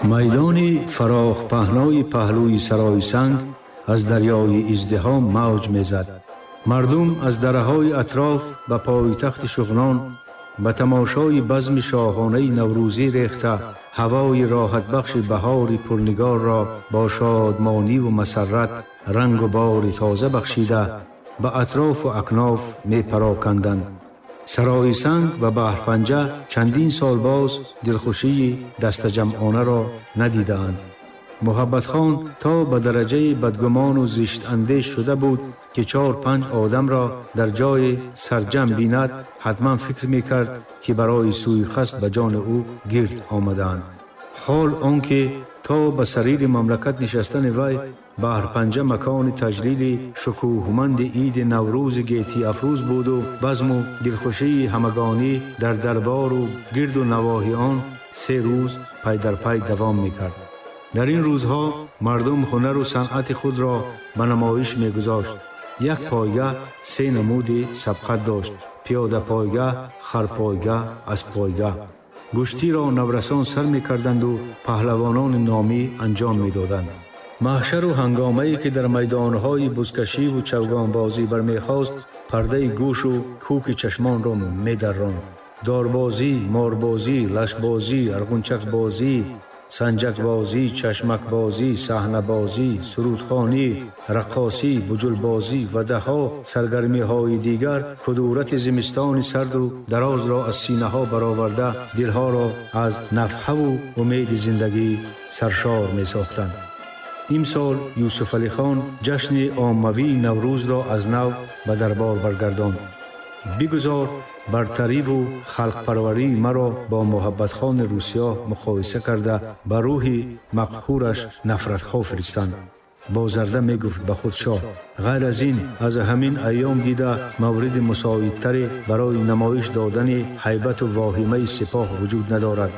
Майдони фарох паҳнои паҳлӯи Сарои Санг аз дарёи издиҳом мавҷ мезад. Мардум аз дараҳои атроф ба пойтахти Шуғнон ба тамошои базми шоҳонаи наврӯзӣ рехта, ҳавои роҳатбахши баҳори пурнигорро бо шодмониву масаррат рангу бори тоза бахшида, ба атрофу акноф мепароканданд. Сарои Санг ва Баҳрпанҷа чандин сол боз дилхушии дастаҷамъонаро надидаанд. Муҳаббатхон то ба дараҷаи бадгумону зиштандеш шуда буд, ки чор-панҷ одамро дар ҷои сарҷамъ бинад, ҳатман фикр мекард, ки барои сӯиқасд ба ҷони ӯ гирд омадаанд. Ҳол он ки то ба сарири мамлакат нишастани вай Баҳрпанҷа макони таҷлили шукӯҳманди иди Наврӯзи гетиафрӯз буду базму дилхушии ҳамагонӣ дар дарбору гирду навоҳи он 3 рӯз пай дар пай давом мекард. Дар ин рӯзҳо мардум ҳунару санъати худро ба намоиш мегузошт. Як пойгаҳ 3 намуди сабқат дошт: пиёдапойгаҳ, харпойгаҳ, асппойгаҳ. Гӯштиро наврасон сар мекарданду паҳлавонони номӣ анҷом медоданд. Маҳшару ҳангомае ки дар майдонҳои бузкашиву чавгонбозӣ бармехост, пардаи гӯшу кӯки чашмонро медарронд. Дорбозӣ, морбозӣ, лашбозӣ, арғунчакбозӣ, санҷакбозӣ, чашмакбозӣ, саҳнабозӣ, сурудхонӣ, раққосӣ, буҷулбозӣ ва даҳҳо саргармиҳои дигар кудурати зимистони сарду дарозро аз синаҳо бароварда, дилҳоро аз нафҳаву умеди зиндагӣ саршор месохтанд. Имсол Юсуфалихон ҷашни оммавии Наврӯзро аз нав ба дарбор баргардонд. Бигузор бартариву халқпарварии маро бо Муҳаббатхони Русиё муқоиса карда, ба рӯҳи мақҳураш нафратҳо фиристанд. Бозарда мегуфт ба худ шоҳ: ғайр аз ин, аз ҳамин айём дида мавриди мусоидтаре барои намоиш додани ҳайбату воҳимаи сипоҳ вуҷуд надорад.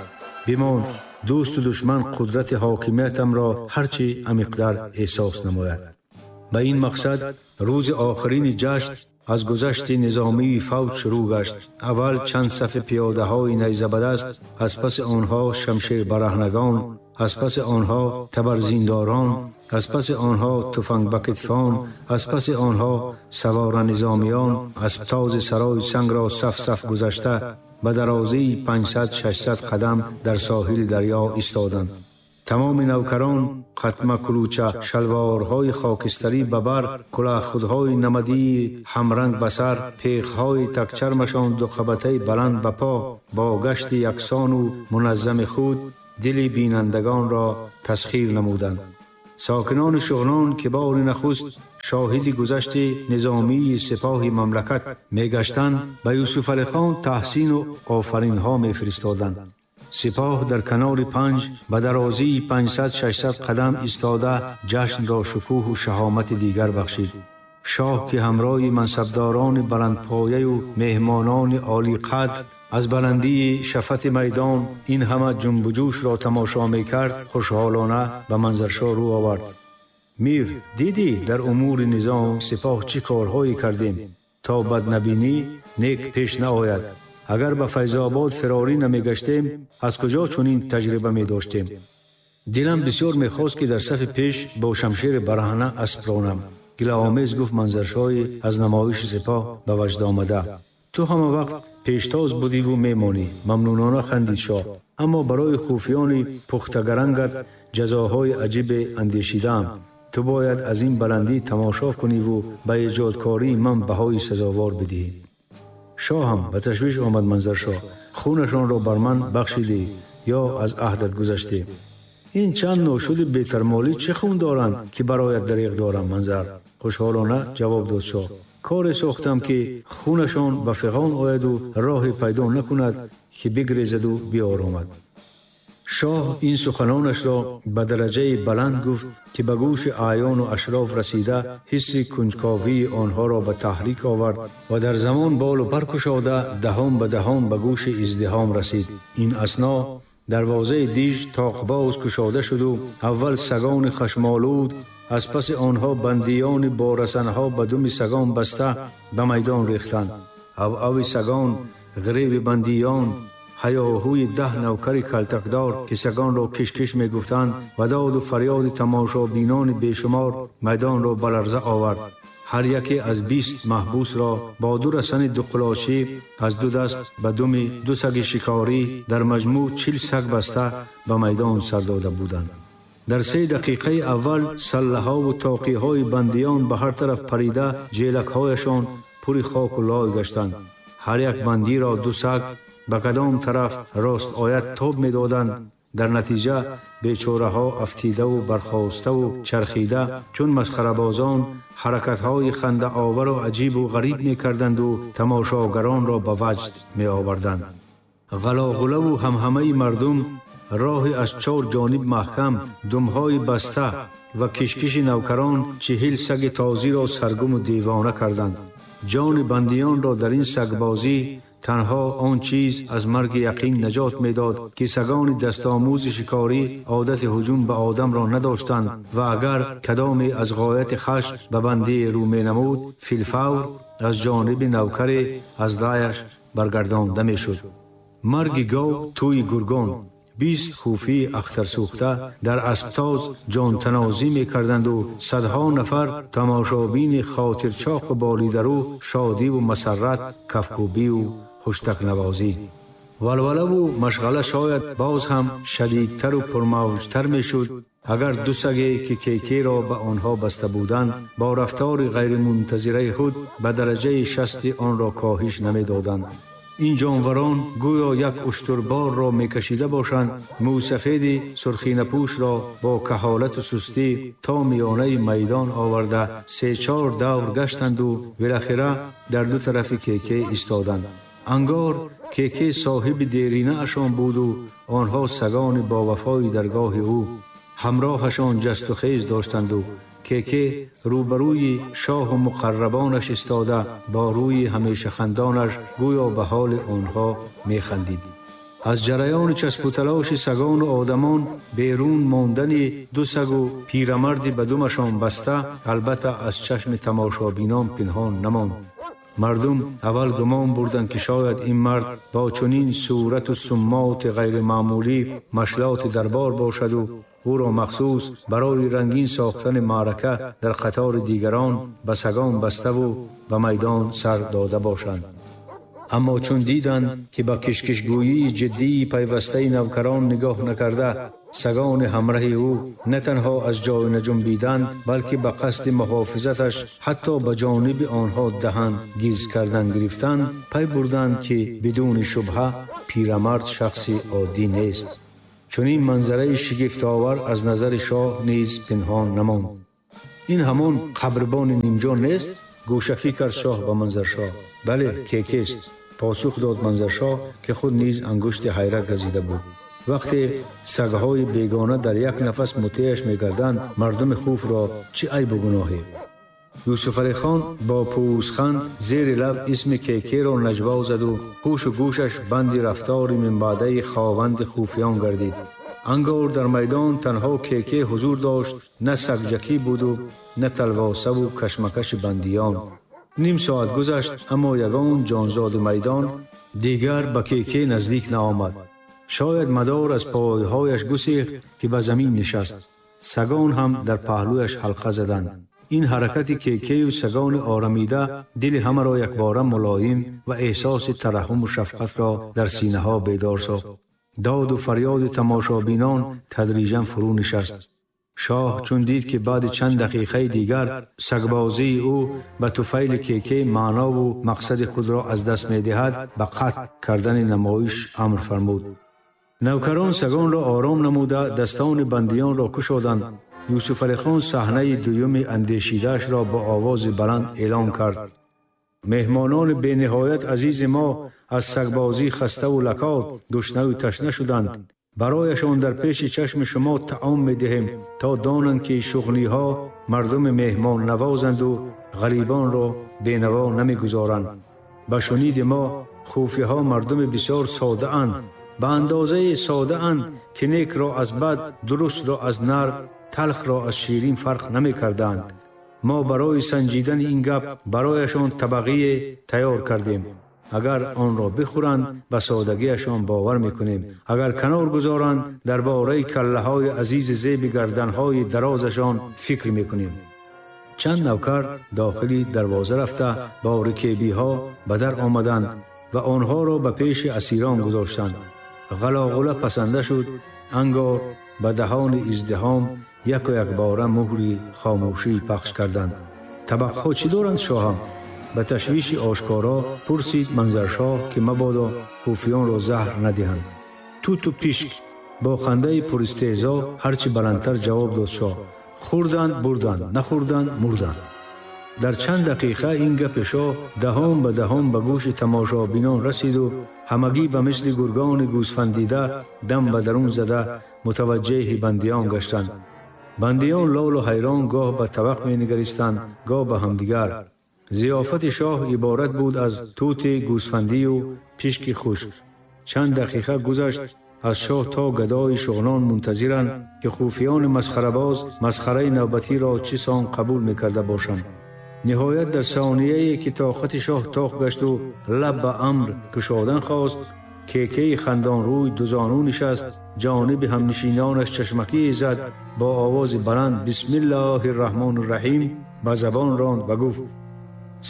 Бимон, дӯсту душман қудрати ҳокимиятамро ҳарчи амиқтар эҳсос намояд. Ба ин мақсад рӯзи охирини ҷашн аз гузашти низомии фавҷ шурӯъ гашт. Аввал чанд сафи пиёдаҳои найзабадаст, аз паси онҳо шамшербараҳнагон, аз паси онҳо табарзиндорон, аз паси онҳо туфангбакитфон, аз паси онҳо саворанизомиён аспtoзи Сарои Сангро саф-саф гузашта ба дарозии 500-600 қадам дар соҳили дарё истоданд. Тамоми навкарон қатма кулуча, шалворҳои хокистарӣ ба бар, кулоҳхудҳои намадии ҳамранг ба сар, пехҳои такчармашон дуқабатаи баланд ба по, бо гашти яксону муназзами худ дили бинандагонро тасхир намуданд. Сокинони Шуғнон, ки бори нахуст шоҳиди гузашти низомии сипоҳи мамлакат мегаштанд, ба Юсуфалихон таҳсину офаринҳо мефиристоданд. Сипоҳ дар канори Панҷ ба дарозии 500-600 қадам истода ҷашнро шукӯҳу шаҳомати дигар бахшид. Шоҳ, ки ҳамроҳи мансабдорони баландпояю меҳмонони олиқадр аз баландии шафати майдон ин ҳама ҷунбуҷӯшро тамошо мекард, хушҳолона ба Манзаршоҳ рӯ овард. Мир, дидӣ дар умури низом сипоҳ чӣ корҳое кардем, то баднабинӣ нек пеш наояд. Агар ба Файзобод фирорӣ намегаштем, аз куҷо чунин таҷриба медоштем? Дилам бисёр мехост, ки дар сафи пеш бо шамшери бараҳна асп ронам. Гилаомез гуфт Манзаршоҳи аз намоиши сипоҳ ба ваҷд омада. Ту ҳама вақт пештоз будиву мемонӣ, мамнунона хандид шоҳ. Аммо барои хуфиёни пухтагарангат ҷазоҳои аҷибе андешидаам. Ту бояд аз ин баландӣ тамошо куниву ба эҷодкории ман баҳои сазовор бидиҳӣ. Шоҳам ба ташвиш омад Манзаршоҳ. Хунашонро бар ман бахшидӣ ё аз аҳдат гузаштӣ? Ин чанд ношуди бетармолӣ чӣ хун доранд, ки бароят дареғ дорам, Манзар? Хушҳолона ҷавоб дод шоҳ. Коре сохтам, ки хунашон ба фиғон ояду роҳе пайдо накунад, ки бигрезаду биоромад. Шоҳ ин суханонашро ба дараҷаи баланд гуфт, ки ба гӯши аъёну ашроф расида ҳисси кунҷковии онҳоро ба таҳрик овард ва дар замон болу пар кушода даҳон ба даҳон ба гӯши издиҳом расид. Ин асно дарвозаи диж тоқбоз кушода шуду аввал сагони хашмолуд, аз паси онҳо бандиёни бо расанҳо ба думи сагон баста ба майдон рехтанд. Авави сагон, ғиреби бандиён, ҳайоҳӯи 10 навкари калтакдор, ки сагонро киш-киш мегуфтанд, ва доду фарёди тамошобинони бешумор майдонро ба ларза овард. Ҳар яке аз 20 маҳбусро бо ду расани дуқулошӣ аз ду даст ба думи ду саги шикорӣ дар маҷмӯъ 40 саг баста ба майдон сар дода буданд. Дар 3 дақиқаи аввал саллаҳову тоқиҳои бандиён ба ҳар тараф парида ҷелакҳояшон пури хоку лой гаштанд. Ҳар як бандиро ду саг ба кадом тараф рост ояд тоб медоданд. Дар натиҷа бечораҳо афтидаву бархоставу чархида чун масхарабозон ҳаракатҳои хандаовару аҷибу ғариб мекарданду тамошогаронро ба ваҷд меоварданд. Ғалоғулаву ҳамҳамаи мардум роҳи аз чор ҷониб маҳкам, думҳои баста ва кишкиши навкарон 40 саги тозиро саргуму девона карданд. Ҷони бандиёнро дар ин сагбозӣ танҳо он чиз аз марги яқин наҷот медод, ки сагони дастомӯзи шикорӣ одати ҳуҷум ба одамро надоштанд ва агар кадоме аз ғояти хашм ба бандӣ рӯ менамуд, филфавр аз ҷониби навкаре аз раяш баргардонда мешуд. Марги гов тӯи гургон, 20 хуфии ахтарсӯхта дар асбтоз ҷонтанозӣ мекарданду садҳо нафар тамошобини хотирчоқу болидарӯ шодиву масаррат, кафкӯбиву хуштакнавозӣ. Валвалаву машғала шояд боз ҳам шадидтару пурмавҷтар мешуд, агар ду саге, ки Кекеро ба онҳо баста буданд, бо рафтори ғайримунтазираи худ ба дараҷаи шасти онро коҳиш намедоданд. Ин ҷонварон гӯё як уштурборро мекашида бошанд, мӯсафеди сурхинапӯшро бо каҳолату сустӣ то миёнаи майдон оварда се-чор давр гаштанду билахира дар ду тарафи Кеке истоданд. Ангор Кеке соҳиби деринаашон буду онҳо сагони бовафои даргоҳи ӯ ҳамроҳашон ҷасту хез доштанду Кеке рӯбарӯи шоҳу муқаррабонаш истода бо рӯи ҳамешахандонаш гӯё ба ҳоли онҳо механдид. Аз ҷараёни часпуталоши сагону одамон берун мондани ду сагу пирамарди ба думашон баста албатта аз чашми тамошобинон пинҳон намонд. Мардум аввал гумон бурданд, ки шояд ин мард бо чунин сурату суммоти ғайримаъмулӣ машлоти дарбор бошаду ӯро махсус барои рангин сохтани маърака дар қатори дигарон ба сагон баставу ба майдон сар дода бошанд. Аммо чун диданд, ки ба кишкишгӯии ҷиддии пайвастаи навкарон нигоҳ накарда, сагони ҳамраҳи ӯ на танҳо аз ҷой наҷунбиданд, балки ба қасди муҳофизаташ ҳатто ба ҷониби онҳо даҳан гиз кардан гирифтанд, пай бурданд, ки бидуни шубҳа пирамард шахси оддӣ нест. Чунин манзараи шигифтовар аз назари шоҳ низ пинҳон намонд. Ин ҳамон қабрбони нимҷон нест? Гӯшакӣ кард шоҳ ба Манзаршоҳ. Бале, Кекест, посух дод Манзаршоҳ, ки худ низ ангушти ҳайрат газида буд. Вақте сагҳои бегона дар як нафас мутеаш мегарданд, мардуми хуфро чӣ айбу гуноҳе? Юсуфалихон бо пӯзханд зери лаб исми Кекеро наҷво заду ҳушу гӯшаш банди рафтори минбаъдаи хованди хуфиён гардид. Ангор дар майдон танҳо Кеке ҳузур дошт, на сагҷакӣ буду на талвосаву кашмакаши бандиён. Ним соат гузашт, аммо ягон ҷонзоди майдон дигар ба Кеке наздик наомад. Шояд мадор аз пойҳояш гусехт, ки ба замин нишаст. Сагон ҳам дар паҳлӯяш ҳалқа заданд. Ин ҳаракати Кекею сагони орамида дили ҳамаро якбора мулоим ва эҳсоси тараҳҳуму шафқатро дар синаҳо бедор сохт. Доду фарёди тамошобинон тадриҷан фурӯ нишаст. Шоҳ чун дид, ки баъди чанд дақиқаи дигар сагбозии ӯ ба туфайли Кеке маънову мақсади худро аз даст медиҳад, ба қатъ кардани намоиш амр фармуд. Навкарон сагонро ором намуда дастони бандиёнро кушоданд. Юсуфалихон саҳнаи дуюми андешидаашро бо овози баланд эълон кард. Меҳмонони бениҳоят азизи мо аз сагбозӣ хаставу лакот, гушнаву ташна шуданд. Барояшон дар пеши чашми шумо таом медиҳем, то донанд, ки шуғниҳо мардуми меҳмоннавозанду ғарибонро бенаво намегузоранд. Ба шуниди мо хуфиҳо мардуми бисёр содаанд, ба андозаи содаанд, ки некро аз бад, дурустро аз нар, талхро аз ширин фарқ намекарданд. Мо барои санҷидани ин гап барояшон табақие тайёр кардем. Агар онро бихӯранд, ба содагиашон бовар мекунем. Агар канор гузоранд, дар бораи каллаҳои азизи зеби гарданҳои дарозашон фикр мекунем. Чанд навкар дохили дарвоза рафта бо рикебиҳо ба дар омаданд ва онҳоро ба пеши асирон гузоштанд. Ғалоғула пасанда шуд, ангор ба даҳони издиҳом яку якбора муҳри хомӯшӣ пахш карданд. Табақҳо чӣ доранд, шоҳам? Ба ташвиши ошкоро пурсид Манзаршоҳ, ки мабодо хуфиёнро заҳр надиҳанд. Туту пишк, бо хандаи пуристеҳзо ҳарчи баландтар ҷавоб дод шоҳ. Хӯрданд, бурданд, нахӯрданд, мурданд. Дар чанд дақиқа ин гапи шоҳ даҳон ба даҳон ба гӯши тамошобинон расиду ҳамагӣ ба мисли гургони гӯсфандида дам ба дарун зада мутаваҷҷеҳи бандиён гаштанд. Бандиён лолу ҳайрон гоҳ ба табақ менигаристанд, гоҳ ба ҳамдигар. Зиёфати шоҳ иборат буд аз тути гӯсфандию пишки хушк. Чанд дақиқа гузашт, аз шоҳ то гадои шуғнон мунтазиранд, ки хуфиёни масхарабоз масхараи навбатиро чӣ сон қабул мекарда бошанд. Ниҳоят дар сонияе ки тоқати шоҳ тоқ гашту лаб ба амр кушодан хост, кекаи хандонрӯй дузону нишаст, ҷониби ҳамнишинонаш чашмакие зад, бо овози баланд бисмиллоҳи рраҳмони рраҳим ба забон ронд ва гуфт: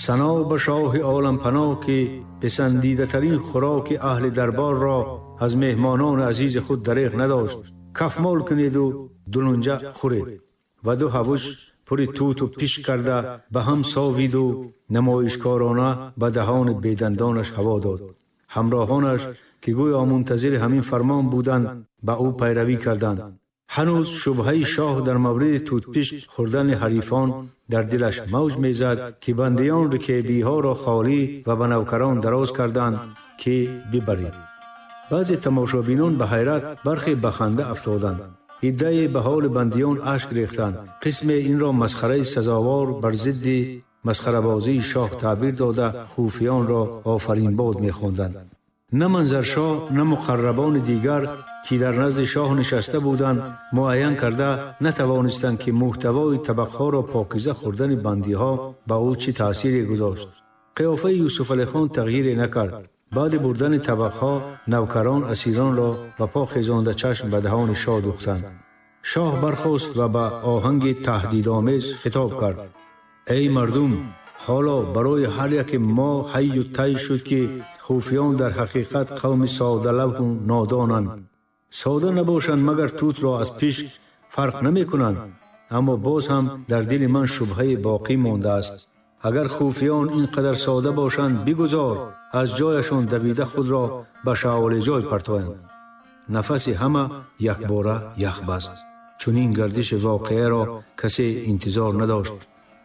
сано ба шоҳи олампаноҳ, ки писандидатарин хӯроки аҳли дарборро аз меҳмонони азизи худ дареғ надошт. Кафмол кунеду дулунҷа хӯред. Ва ду ҳавуш пури туту пишк карда ба ҳам совиду намоишкорона ба даҳони бедандонаш ҳаво дод. Ҳамроҳонаш, ки гӯё мунтазири ҳамин фармон буданд, ба ӯ пайравӣ карданд. Ҳанӯз шубҳаи шоҳ дар мавриди тутпишк хӯрдани ҳарифон дар дилаш мавҷ мезад, ки бандиён рикебиҳоро холӣ ва ба навкарон дароз карданд, ки бибаред. Баъзе тамошобинон ба ҳайрат, бархе ба ханда афтоданд. Иддае ба ҳоли бандиён ашк рехтанд. Қисме инро масхараи сазовор бар зидди масхарабозии шоҳ таъбир дода, хуфиёнро офаринбод мехонданд. На Манзаршоҳ, на муқаррабони дигар, ки дар назди шоҳ нишаста буданд, муайян карда натавонистанд, ки муҳтавои табақҳоро покиза хӯрдани бандиҳо ба ӯ чӣ таъсире гузошт. Қиёфаи Юсуфалихон тағйире накард. Баъди бурдани табақҳо навкарон асиронро ба по хезонда чашм ба даҳони шоҳ духтанд. Шоҳ бархост ва ба оҳанги таҳдидомез хитоб кард: эй мардум, ҳоло барои ҳар яке мо ҳайю тай шуд, ки хуфиён дар ҳақиқат қавми содалавҳу нодонанд. Сода набошанд, магар тутро аз пишк фарқ намекунанд. Аммо боз ҳам дар дили ман шубҳае боқӣ мондааст. Агар хуфиён ин қадар сода бошанд, бигузор аз ҷояшон давида худро ба шаолеҷой партоянд. Нафаси ҳама якбора ях баст. Чунин гардиши воқеаро касе интизор надошт.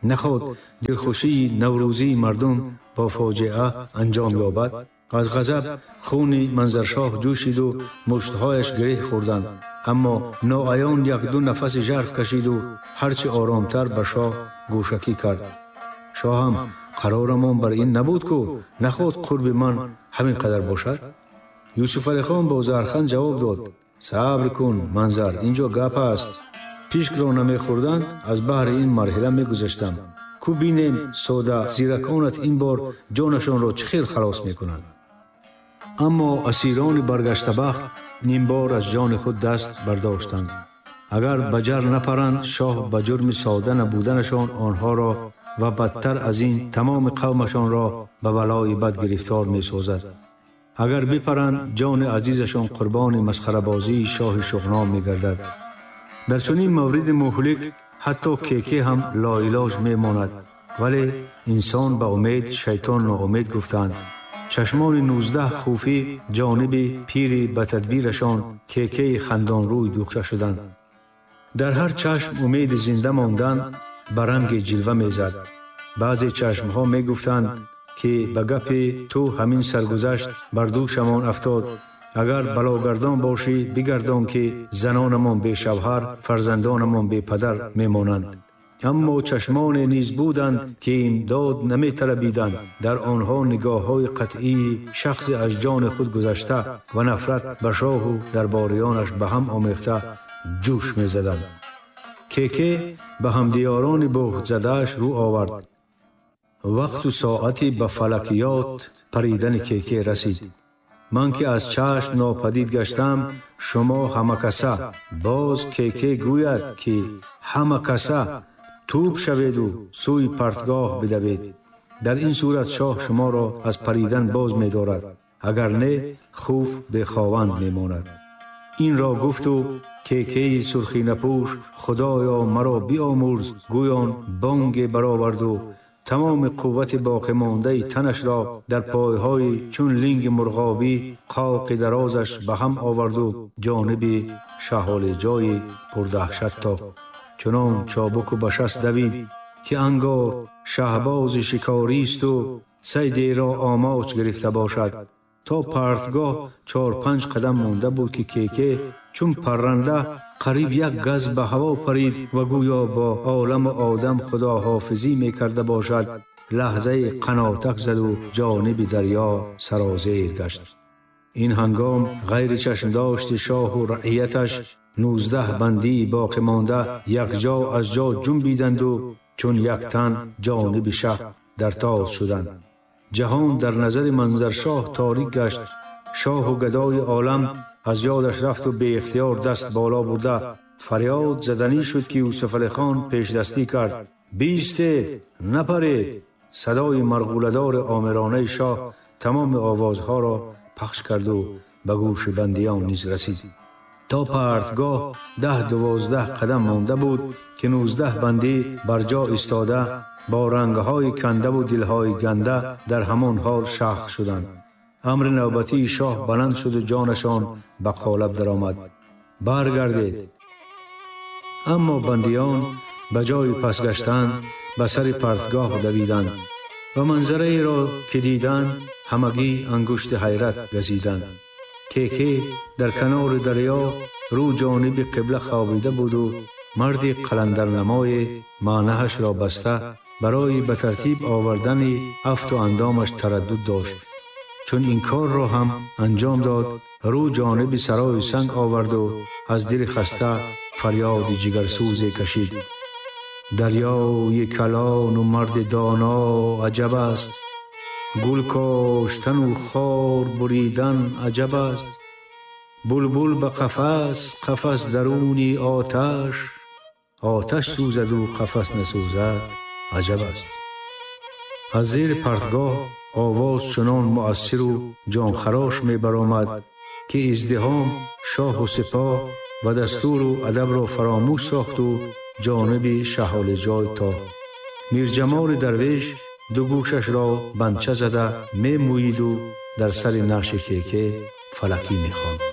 Наход дилхушии наврӯзии мардум бо фоҷиа анҷом ёбад. Аз ғазаб хуни Манзаршоҳ ҷӯшиду муштҳояш гиреҳ хӯрданд. Аммо ноаён як-ду нафаси жарф кашиду ҳарчи оромтар ба шоҳ гӯшакӣ кард. Шоҳам, қарорамон бар ин набуд, ку наход қурби ман ҳамин қадар бошад? Юсуфалихон бо зарханд ҷавоб дод: сабр кун, Манзар, инҷо гап аст. Пишкро намехӯрданд, аз баҳри ин марҳила мегузаштам. Ку бинем сода зираконат ин бор ҷонашонро чӣ хел халос мекунанд. Аммо асирони баргаштабахт нимбор аз ҷони худ даст бардоштанд. Агар ба ҷар напаранд, шоҳ ба ҷурми сода набуданашон онҳоро ва бадтар аз ин тамоми қавмашонро ба балои бад гирифтор месозад. Агар бипаранд, ҷони азизашон қурбони масхарабозии шоҳи шуғнон мегардад. Дар чунин мавриди муҳлик ҳатто кеке ҳам лоилоҷ мемонад. Вале инсон ба умед, шайтон ноумед гуфтанд. Чашмони 19 хуфӣ ҷониби пири ба тадбирашон кекеи хандонрӯй духта шуданд. Дар ҳар чашм умеди зинда мондан ба ранги ҷилва мезад. Баъзе чашмҳо мегуфтанд, ки ба гапи ту ҳамин саргузашт бар дӯшамон афтод. Агар балогардон бошӣ, бигардон, ки занонамон бешавҳар, фарзандонамон бепадар мемонанд. Аммо чашмоне низ буданд, ки имдод наметалабиданд. Дар онҳо нигоҳҳои қатъии шахси аз ҷони худ гузашта ва нафрат ба шоҳу дарбориёнаш ба ҳам омехта ҷӯш мезаданд. Кеке ба ҳамдиёрони буҳтзадааш рӯ овард. Вақту соати ба фалакиёт паридани Кеке расид. Ман ки аз чашм нопадид гаштам, шумо ҳамакаса, боз Кеке гӯяд, ки ҳамакаса тӯб шаведу сӯи партгоҳ бидавед. Дар ин сурат шоҳ шуморо аз паридан боз медорад, агар не, хуф бехованд мемонад. Инро гуфту Кекеи сурхинапӯш «Худоё, маро биомӯрз» гӯён бонге бароварду тамоми қуввати боқимондаи танашро дар пойҳои чун линги мурғобӣ қоқи дарозаш ба ҳам оварду ҷониби шаҳолиҷои пурдаҳшат тохт. Чунон чобуку ба шаст давид, ки ангор шаҳбози шикористу сайдеро омоч гирифта бошад. То партгоҳ 4-5 қадам монда буд, ки Кеке чун парранда қариб як газ ба ҳаво парид ва гӯё бо оламу одам худоҳофизӣ мекарда бошад, лаҳзаи қанотак заду ҷониби дарё сарозер гашт. Ин ҳангом ғайри чашмдошти шоҳу раияташ 19 бандии боқимонда якҷо аз ҷо ҷунбиданду чун як тан ҷониби шаҳр дар тоз шуданд. Ҷаҳон дар назари Манзаршоҳ торик гашт. Шоҳу гадои олам аз ёдаш рафту беихтиёр даст боло бурда фарёд заданӣ шуд, ки Юсуфалихон пешдастӣ кард: «Биистед, напаред!» Садои марғуладори омиронаи шоҳ тамоми овозҳоро пахш карду ба гӯши бандиён низ расид. То партгоҳ 10-12 қадам монда буд, ки 19 бандӣ бар ҷо истода бо рангҳои кандаву дилҳои ганда дар ҳамон ҳол шахх шуданд. Амри навбатии шоҳ баланд шуду ҷонашон ба қолаб даромад: «Баргардед!» Аммо бандиён ба ҷои пас гаштан ба сари партгоҳ давиданд ва манзараеро ки диданд, ҳамагӣ ангушти ҳайрат газиданд. Кеке дар канори дарё рӯ ҷониби қибла хобида буду марди қаландарнамое маънаҳашро баста барои ба тартиб овардани афту андомаш тараддуд дошт. Чун ин корро ҳам анҷом дод, рӯ ҷониби сарои санг оварду аз дили хаста фарёди ҷигарсӯзе кашид: «Дарёи калону марди доно аҷаб аст, гул коштану хор буридан аҷаб аст, булбул ба қафас, қафас даруни оташ, оташ сӯзаду қафас насӯзад аҷаб аст». Аз зери партгоҳ овоз чунон муассиру ҷонхарош мебаромад, ки издиҳом шоҳу сипоҳ ва дастуру адабро фаромӯш сохту ҷониби шаҳолиҷой тохт. Мирҷамоли дарвеш ду гӯшашро банча зада мемӯиду дар сари наъши Кеке фалакӣ мехонд.